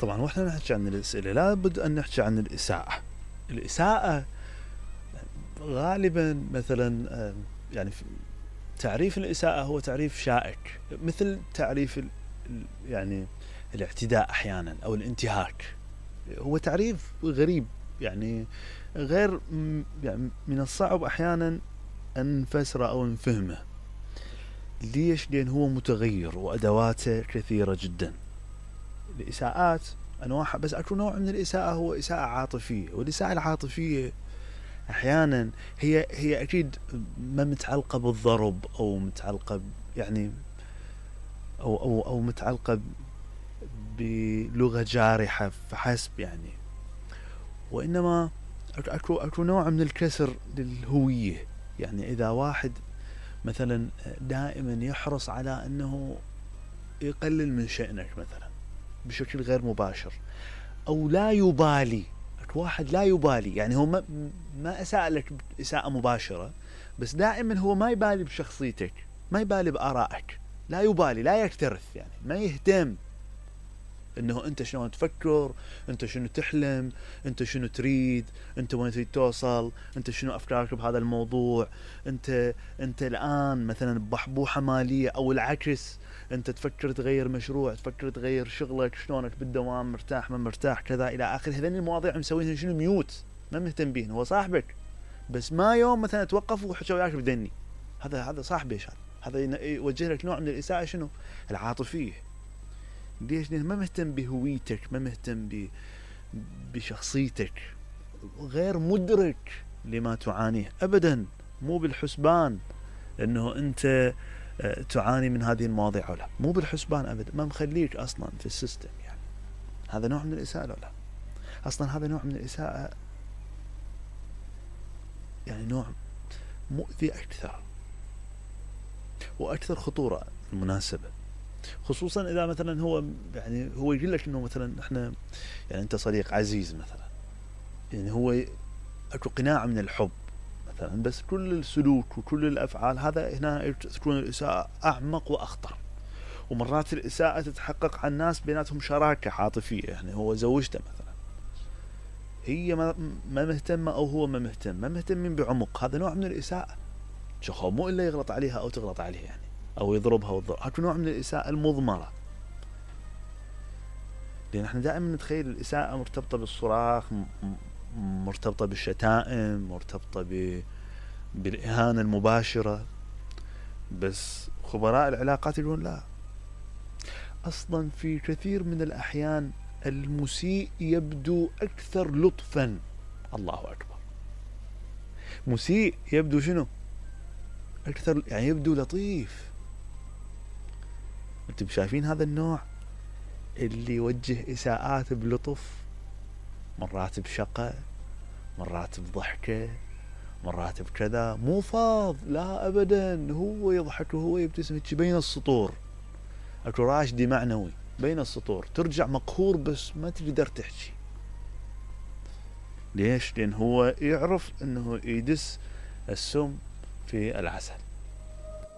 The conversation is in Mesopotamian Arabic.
طبعا واحنا نحكي عن الأسئلة لابد أن نحكي عن الإساءة. الإساءة غالبا مثلا يعني تعريف الإساءة هو تعريف شائك، مثل تعريف يعني الاعتداء أحيانا أو الانتهاك، هو تعريف غريب يعني غير يعني من الصعب أحيانا أن نفسره أو نفهمه. ليش؟ لأن هو متغير وأدواته كثيرة جدا. الإساءات أنواع، بس أكو نوع من الإساءة هو إساءة عاطفية، والإساءة العاطفية أحيانا هي أكيد ما متعلقة بالضرب أو متعلقة يعني أو متعلقة بلغة جارحة فحسب يعني، وإنما أكو نوع من الكسر للهوية. يعني إذا واحد مثلا دائما يحرص على أنه يقلل من شأنك مثلا بشكل غير مباشر، أو لا يبالي، أكو واحد لا يبالي، يعني هو ما أساء لك إساءة مباشرة، بس دائما هو ما يبالي بشخصيتك، ما يبالي بآرائك، لا يبالي، لا يكترث، يعني ما يهتم انه انت شلون تفكر، انت شنو تحلم، انت شنو تريد، انت وين تريد توصل، انت شنو افكارك بهذا الموضوع، انت الان مثلا بحبوحة مالية، او العكس انت تفكر تغير مشروع، تفكر تغير شغلك، شلونك بالدوام، مرتاح ما مرتاح، كذا الى اخره. هذين المواضيع مسوينها شنو ميوت، ما مهتم بيهن. هو صاحبك بس ما يوم مثلا توقف وحكى وياك بدني، هذا صاحبي، هذا يوجه لك نوع من الإساءة شنو؟ العاطفية. ليش؟ لأنه ما مهتم بهويتك، ما مهتم بشخصيتك، غير مدرك لما تعانيه أبدا، مو بالحسبان أنه أنت تعاني من هذه المواضيع ولا مو بالحسبان أبدا، ما مخليك أصلا في السيستم. يعني هذا نوع من الإساءة ولا أصلا هذا نوع من الإساءة، يعني نوع مؤذي أكثر وأكثر خطورة بالمناسبة، خصوصا إذا مثلا هو يعني هو يقول لك إنه مثلا إحنا يعني أنت صديق عزيز مثلا، يعني هو أكو قناع من الحب مثلا، بس كل السلوك وكل الأفعال هذا هنا تكون الإساءة أعمق وأخطر. ومرات الإساءة تتحقق عن ناس بيناتهم شراكة عاطفية، يعني هو زوجته مثلا هي ما مهتمة أو هو ما مهتمين بعمق، هذا نوع من الإساءة. شخو مو إلا يغلط عليها أو تغلط عليه يعني، أو يضربها وتضرب، هذا نوع من الإساءة المضمرة. لأن احنا دائما نتخيل الإساءة مرتبطة بالصراخ، مرتبطة بالشتائم، مرتبطة بالإهانة المباشرة، بس خبراء العلاقات يقولون لا، أصلا في كثير من الأحيان المسيء يبدو أكثر لطفا. الله أكبر، مسيء يبدو شنو؟ أكثر، يعني يبدو لطيف. أنتم شايفين هذا النوع اللي يوجه إساءات بلطف، مرات بشقة، مرات بضحكة، مرات بكذا، مو فاض، لا أبدا، هو يضحك وهو يبتسم بين السطور، أكو راشدي معنوي بين السطور، ترجع مقهور بس ما تقدر تحكي. ليش؟ لأن هو يعرف أنه يدس السم في العسل.